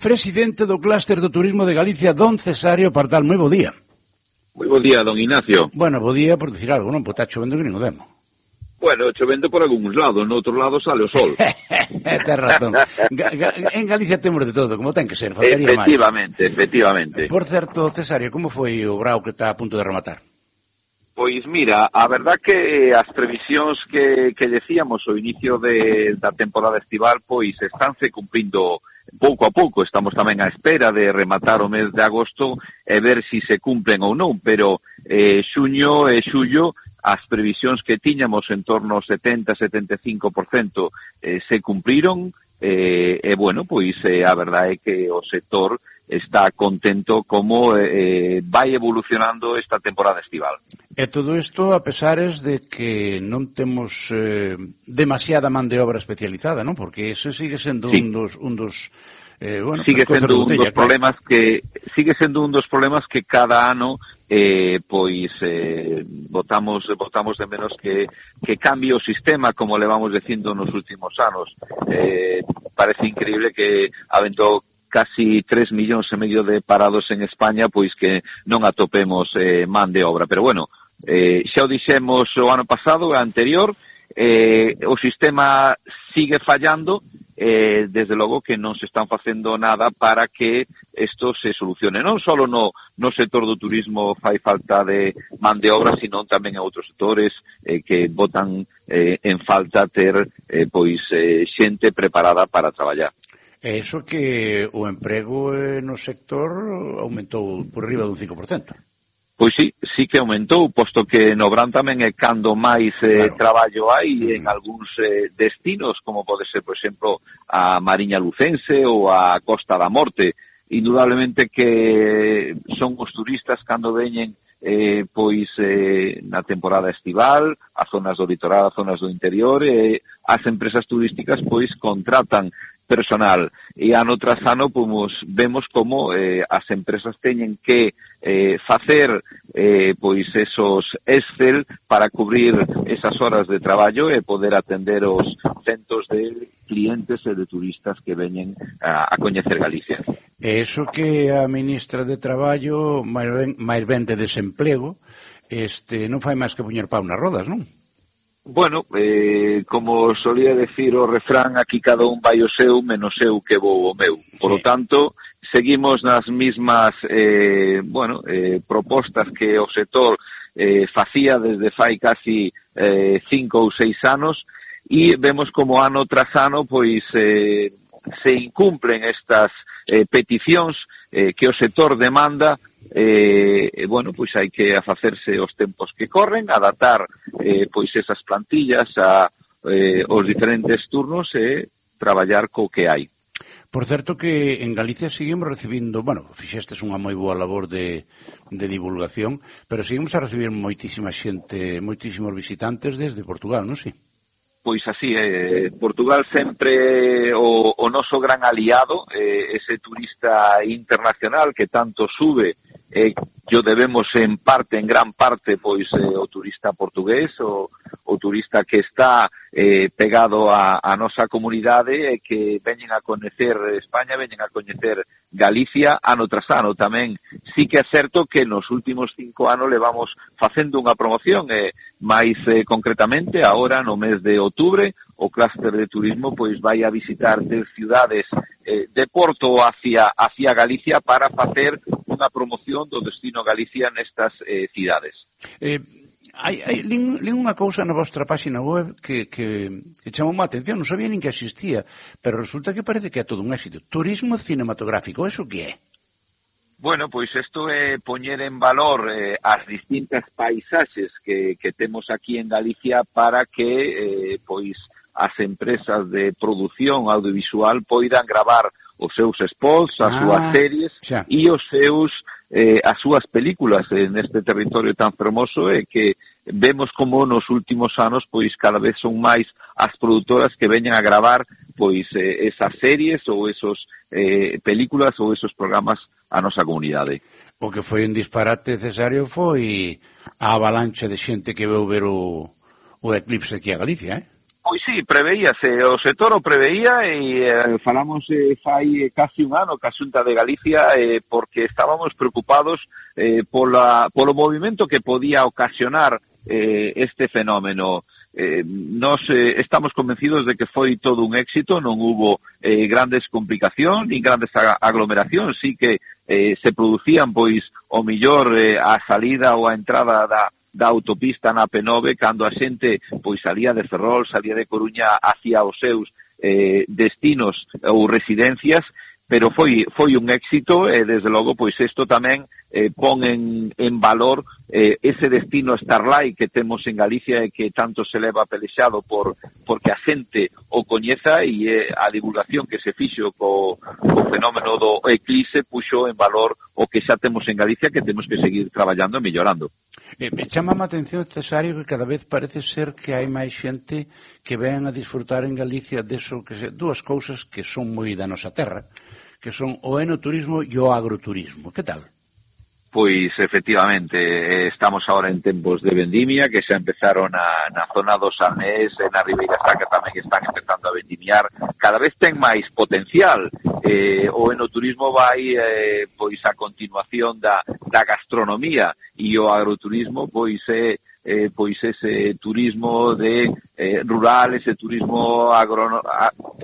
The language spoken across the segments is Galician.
Presidente do Clúster do Turismo de Galicia, don Cesario Pardal, moi bo día. Moi bo día, don Ignacio. Bueno, bo día por dicir algo, non? Porque está chovendo que nin o demo. Bueno, chovendo por algúns lados, no outro lado sale o sol. Ten razón. En Galicia temos de todo, como ten que ser, faltaría máis. Efectivamente. Por certo, Cesario, como foi o grau que está a punto de rematar? Pois mira, a verdad que as previsións que decíamos ao inicio da temporada estival, pois estánse cumprindo pouco a pouco. Estamos tamén á espera de rematar o mes de agosto e ver se se cumplen ou non, pero xuño e xullo as previsións que tiñamos en torno ao 70-75% se cumpriron e bueno, pois a verdade é que o sector está contento como vai evolucionando esta temporada estival. E todo isto a pesares de que non temos demasiada man de obra especializada, non? Porque ese sigue sendo un dos sigue sendo un dos problemas que cada ano botamos de menos que cambie o sistema, como levamos dicindo nos últimos anos. Parece increíble que avento casi 3,5 millóns de parados en España, pois que non atopemos man de obra. Pero bueno, xa o dixemos o ano pasado, o anterior, o sistema sigue fallando, desde logo que non se están facendo nada para que isto se solucione. Non só no sector do turismo fai falta de man de obra, sino tamén en outros sectores que botan en falta ter xente preparada para traballar. É iso que o emprego no sector aumentou por arriba dun 5%. Pois sí que aumentou, posto que no Brán tamén é cando máis traballo hai en algúns destinos, como pode ser, por exemplo, a Mariña Lucense ou a Costa da Morte. Indudablemente que son os turistas cando veñen na temporada estival, a zonas do litoral, a zonas do interior, as empresas turísticas contratan personal e ano tras ano vemos como as empresas teñen que facer esos Excel para cubrir esas horas de traballo e poder atender os centos de clientes e de turistas que veñen a coñecer Galicia. E iso que a ministra de Traballo, máis ben de desemplego, non fai máis que poñer pau nas rodas, non? Bueno, como solía decir o refrán, aquí cada un vai o seu, menos eu que vou o meu. Por lo tanto, seguimos nas mismas propostas que o sector facía desde fai casi 5 ou 6 anos e vemos como ano tras ano se incumplen estas peticións que o sector demanda. Hai que afacerse os tempos que corren, adaptar esas plantillas aos diferentes turnos e traballar co que hai. Por certo que en Galicia seguimos recibindo, fixestes unha moi boa labor de divulgación, pero seguimos a recibir moitísima xente, moitísimos visitantes desde Portugal, non sei? Pois así, Portugal sempre o noso gran aliado, ese turista internacional que tanto sube, que o debemos en gran parte, o turista portugués, o turista que está pegado a nosa comunidade e que veñen a coñecer España, veñen a coñecer Galicia ano tras ano. Tamén sí que é certo que nos últimos 5 anos levamos facendo unha promoción, máis concretamente, agora no mes de outubro, o clúster de turismo vai a visitar 10 cidades de Porto hacia Galicia para facer unha promoción do destino Galicia nestas cidades. Lín unha cousa na vostra página web que chamou a atención, non sabía nin que existía, pero resulta que parece que é todo un éxito. Turismo cinematográfico, eso que é? Bueno, isto é poñer en valor as distintas paisaxes que temos aquí en Galicia para que as empresas de produción audiovisual poidan gravar os seus spots, as súas series e as súas películas neste territorio tan fermoso que vemos como nos últimos anos cada vez son máis as produtoras que veñen a gravar esas series ou esos películas ou esos programas a nosa comunidade. O que foi un disparate, Cesario, foi a avalancha de xente que veu ver o eclipse aquí a Galicia, Pois sí, preveíase, o sector o preveía e falamos fai casi un ano ca Xunta de Galicia porque estábamos preocupados polo movimento que podía ocasionar este fenómeno. Nos estamos convencidos de que foi todo un éxito, non hubo grandes complicacións ni grandes aglomeracións, sí que se producían pois o millor a salida ou a entrada da autopista na P9 cando a xente pois salía de Ferrol, salía de Coruña hacia os seus destinos ou residencias, pero foi un éxito e desde logo pois isto tamén pon en valor ese destino Starlight que temos en Galicia e que tanto se leva pelexado porque a xente o coñeza e a divulgación que se fixo co fenómeno do eclipse puxo en valor o que xa temos en Galicia que temos que seguir traballando e mellorando. Me chama a atención, Cesario, que cada vez parece ser que hai máis xente que ven a disfrutar en Galicia deso que dúas cousas que son moi da nosa terra, que son o enoturismo e o agroturismo. Que tal? Pois, efectivamente, estamos ahora en tempos de vendimia, que xa empezaron na zona do Samés, na Ribeira Sacra tamén están empezando a vendimiar. Cada vez ten máis potencial. O enoturismo vai, pois, a continuación da gastronomía e o agroturismo, pois, pois ese turismo de rural, ese turismo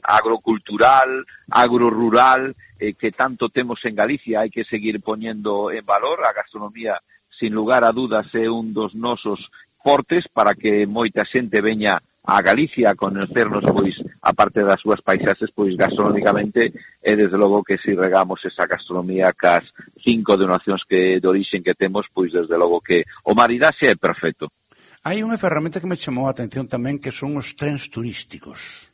agrocultural, agrorural, que tanto temos en Galicia. Hai que seguir poñendo en valor. A gastronomía, sin lugar a dudas, é un dos nosos fortes para que moita xente veña a Galicia a conocernos, pois, a parte das súas paisaxes, pois, gastronómicamente, e desde logo que se regamos esa gastronomía cas 5 denominacións de orixen que temos, pois, desde logo que o maridaxe é perfecto. Hai unha ferramenta que me chamou a atención tamén, que son os trens turísticos.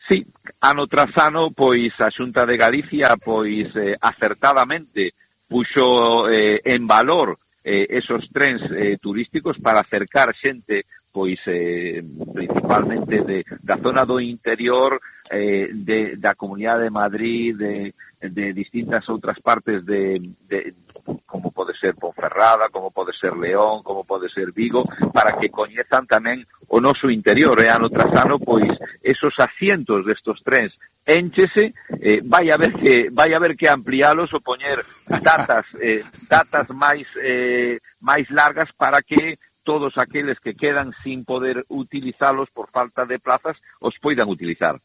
Sí, ano tras ano, pois, a Xunta de Galicia, pois, acertadamente puxo en valor esos trens turísticos para acercar xente, pois, principalmente da zona do interior, da Comunidade de Madrid, de distintas outras partes como pode ser Ponferrada, como pode ser León, como pode ser Vigo, para que coñezan tamén o noso interior. E ano tras ano, pois, esos asientos destos trens énchese, vai haber que ampliálos ou poñer datas máis largas para que todos aqueles que quedan sin poder utilizalos por falta de plazas os poidan utilizar.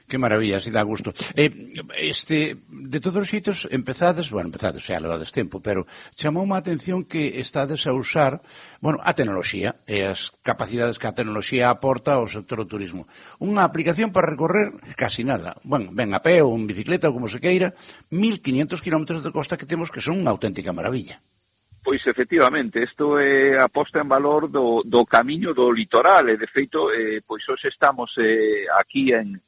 Que maravilla, así dá gusto. De todos os xeitos, empezades, xa levades tempo, pero chamoume a atención que estades a usar, a tecnoloxía e as capacidades que a tecnoloxía aporta ao sector do turismo. Unha aplicación para recorrer casi nada, ben a pé ou en bicicleta ou como se queira, 1.500 kilómetros de costa que temos, que son unha auténtica maravilla. Pois, efectivamente, isto é a posta en valor do camiño do litoral, e de feito, pois hoxe estamos aquí en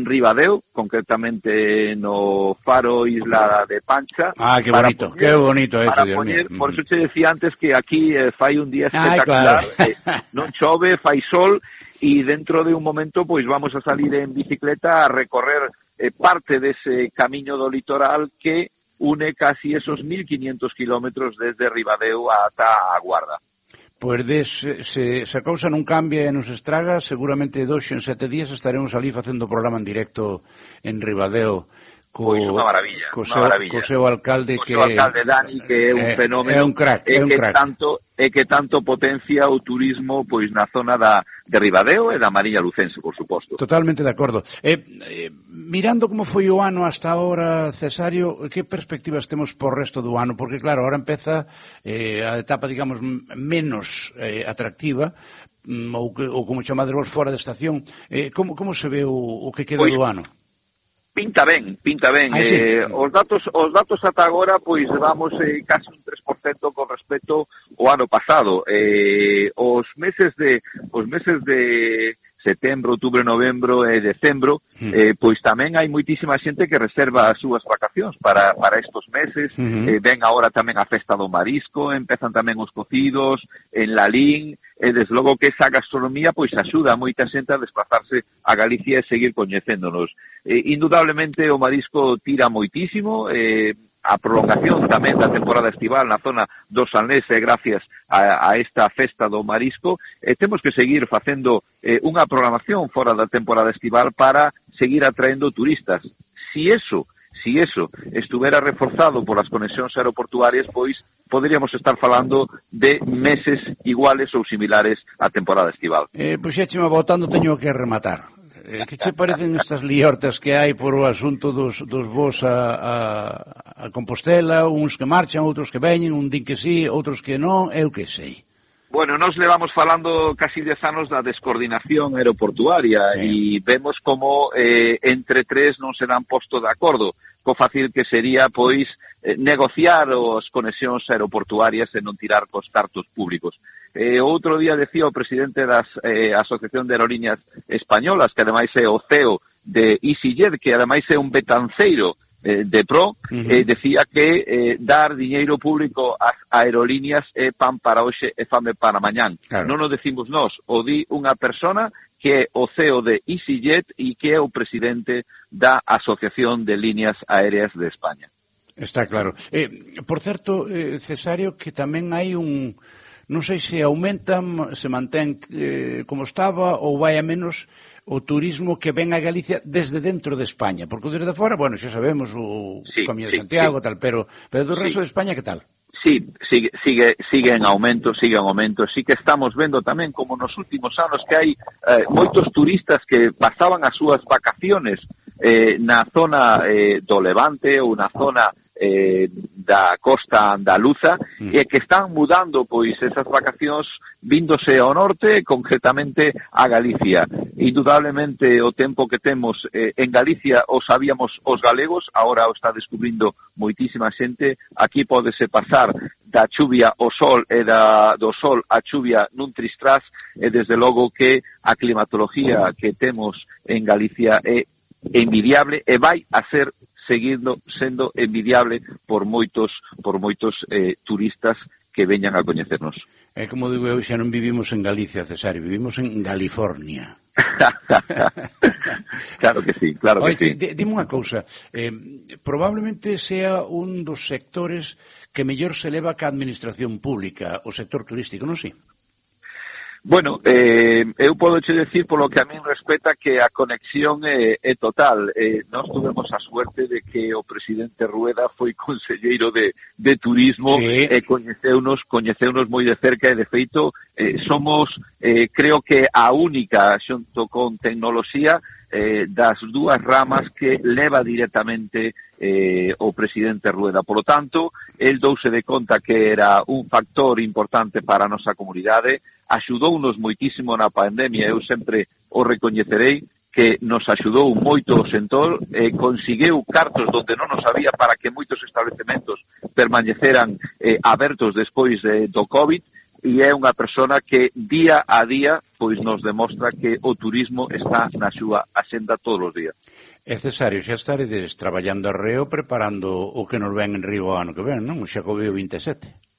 Ribadeo, concretamente no Faro Isla de Pancha. Que bonito, que bonito eso, Dios mío. Por eso te decía antes que aquí fai un día espectacular, claro. Non chove, fai sol, e dentro de un momento pois vamos a salir en bicicleta a recorrer parte dese camiño do litoral que une casi esos 1.500 kilómetros desde Ribadeo ata a Guarda. Pois se a cousa non cambia e nos estraga, seguramente 2 en 7 días estaremos ali facendo o programa en directo en Ribadeo. Pois unha maravilla, co seu alcalde, que o alcalde Dani, que é un fenómeno, é un crack, que tanto potencia o turismo pois na zona de Ribadeo e da Mariña Lucense, por suposto. Totalmente de acordo. Mirando como foi o ano hasta ahora, Cesario, que perspectivas temos por resto do ano? Porque claro, ahora empeza a etapa, digamos, menos atractiva, ou como chamades vos, fora de estación. Como se ve o que queda do ano? Pinta ben. Sí. Os datos ata agora, pois vamos casi un 3% con respecto ao ano pasado. Os meses de setembro, outubro, novembro e decembro, pois tamén hai moitísima xente que reserva as súas vacacións para estos meses. Ven agora tamén a festa do marisco, empezan tamén os cocidos en Lalín, e desde logo que esa gastronomía pois axuda a moita xente a desplazarse a Galicia e seguir coñecéndonos. indudablemente o marisco tira moitísimo, a prolongación tamén da temporada estival na zona do Salnés gracias a esta festa do marisco, temos que seguir facendo unha programación fora da temporada estival para seguir atraendo turistas. Si eso estuvera reforzado por as conexións aeroportuarias, pois poderíamos estar falando de meses iguales ou similares á temporada estival. Pois xa chema botando, teño que rematar. Que che parecen estas liortas que hai por o asunto dos voos a Compostela, uns que marchan, outros que veñen, un din que sí, outros que non, eu que sei. Bueno, nos levamos falando casi 10 anos da descoordinación aeroportuaria e vemos como entre tres non se dan posto de acordo, co fácil que sería, pois, negociar as conexións aeroportuarias e non tirar cos cartos públicos. Outro día decía o presidente da Asociación de Aerolíneas Españolas, que ademais é o CEO de EasyJet, que ademais é un betanceiro de pro, decía que dar diñeiro público ás aerolíneas é pan para hoxe e fame para mañán. Claro. Non o decimos nós, o di unha persona que é o CEO de EasyJet e que é o presidente da Asociación de Líneas Aéreas de España. Está claro. Por certo, Cesario, que tamén hai un... Non sei se aumenta, se mantén como estaba ou vai a menos o turismo que ven a Galicia desde dentro de España, porque desde fora, bueno, xa sabemos o Camiño de Santiago, tal, pero do resto de España, que tal? Sí, sigue en aumento, sí que estamos vendo tamén como nos últimos anos que hai moitos turistas que pasaban as súas vacaciones na zona do Levante ou na zona da costa andaluza e que están mudando pois esas vacacións víndose ao norte, concretamente a Galicia. Indudablemente o tempo que temos en Galicia o sabíamos os galegos, agora o está descubrindo moitísima xente. Aquí pódese pasar da chuvia ao sol e do sol á chuvia nun tristrás, e desde logo que a climatología que temos en Galicia é envidiable e vai a ser seguindo sendo envidiable por moitos turistas que veñan a coñecernos. É como digo eu, xa non vivimos en Galicia, Cesario, vivimos en California. Claro que sí, claro que sí. Dime unha cousa, probablemente sea un dos sectores que mellor se leva ca administración pública, o sector turístico, non si? Bueno, eu podo che decir polo que a min respecta que a conexión é total. Nós tuvemos a suerte de que o presidente Rueda foi conselleiro de turismo e coñeceunos moi de cerca e de feito somos, creo que a única xunto con tecnoloxía das dúas ramas que leva directamente o presidente Rueda. Por lo tanto, el douse de conta que era un factor importante para a nosa comunidade, axudounos moitísimo na pandemia, eu sempre o recoñecerei, que nos axudou moito o sector, conseguiu cartos donde non nos había para que moitos establecementos permaneceran abertos despois do COVID, e é unha persona que día a día pois nos demostra que o turismo está na súa axenda todos os días. É Cesario, xa estaredes traballando arreo preparando o que nos ven en Río ano que ven, non? O Xacobeo 27.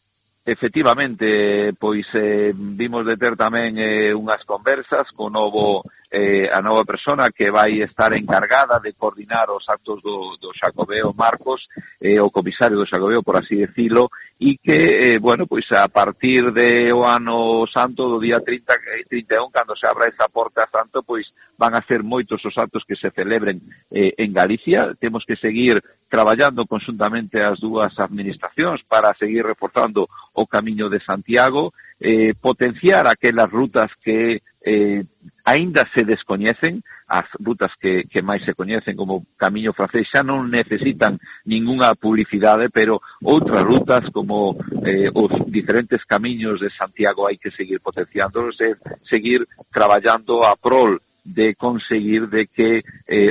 Efectivamente, pois vimos de ter tamén unhas conversas con a nova persona que vai estar encargada de coordinar os actos do Xacobeo, Marcos, o comisario do Xacobeo, por así decirlo, e que, bueno, pois a partir do ano santo, do día 30 e 31, cando se abra esa porta santo, pois van a ser moitos os actos que se celebren en Galicia. Temos que seguir traballando conjuntamente as dúas administracións para seguir reforzando o Camiño de Santiago, potenciar aquelas rutas que aínda se descoñecen, as rutas que máis se coñecen como Camiño Francés xa non necesitan ningunha publicidade, pero outras rutas como os diferentes camiños de Santiago hai que seguir potenciándolos e seguir traballando a prol de conseguir de que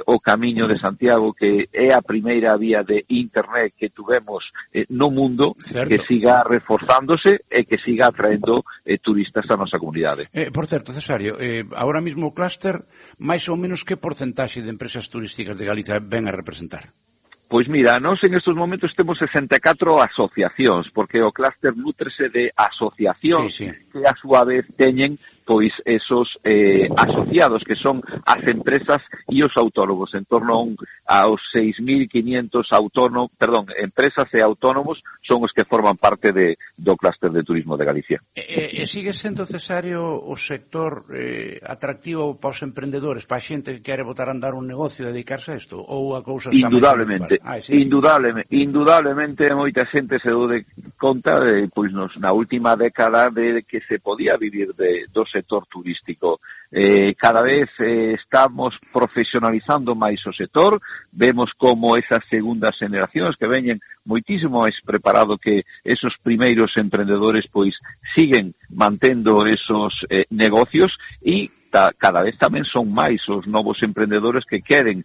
o Camiño de Santiago, que é a primeira vía de internet que tuvemos no mundo, certo, que siga reforzándose e que siga atraendo turistas a nosa comunidade. Por certo, Cesario, agora mesmo o clúster, máis ou menos que porcentaxe de empresas turísticas de Galicia ven a representar? Pois mira, nós en estes momentos temos 64 asociacións, porque o clúster nútrese de asociacións que a súa vez teñen pois esos asociados que son as empresas e os autónomos, en torno aos 6.500 empresas e autónomos son os que forman parte do clúster de turismo de Galicia. E sigue sendo necesario o sector atractivo para os emprendedores, para a xente que quere botar a andar un negocio e dedicarse a isto? Ou a cousa está indudablemente, sí. indudablemente moita xente se dou de conta pois na última década de que se podía vivir do sector turístico. Cada vez estamos profesionalizando máis o sector, vemos como esas segundas generacións que veñen moitísimo máis preparado que esos primeiros emprendedores pois siguen mantendo esos negocios e cada vez tamén son máis os novos emprendedores que queren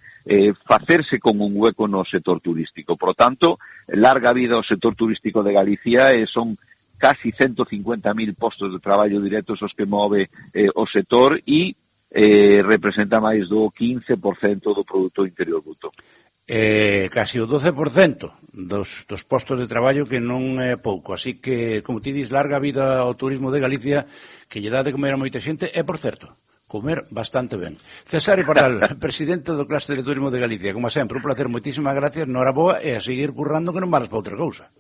facerse con un hueco no sector turístico. Por tanto, larga vida ao sector turístico de Galicia son casi 150.000 postos de traballo directos os que move o sector e representa máis do 15% do Produto Interior Bruto. Casi o 12% dos postos de traballo, que non é pouco. Así que, como ti dis, larga vida ao turismo de Galicia, que lle dá de comer a moita xente, e, por certo, comer bastante ben. Cesáreo Pardal, presidente do Clúster de Turismo de Galicia, como sempre, un placer, moitísimas gracias, noraboa, e a seguir currando que non valas para outra cousa.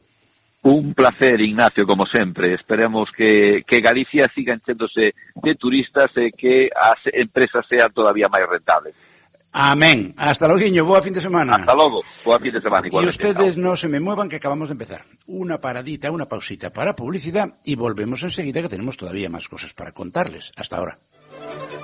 Un placer, Ignacio, como sempre. Esperemos que Galicia siga enchéndose de turistas e que as empresas sean todavía máis rentables. Amén. Hasta logo, boa fin de semana. Hasta logo, boa fin de semana. Y ustedes no se me muevan, que acabamos de empezar. Una paradita, una pausita para publicidad y volvemos enseguida, que tenemos todavía más cosas para contarles. Hasta ahora.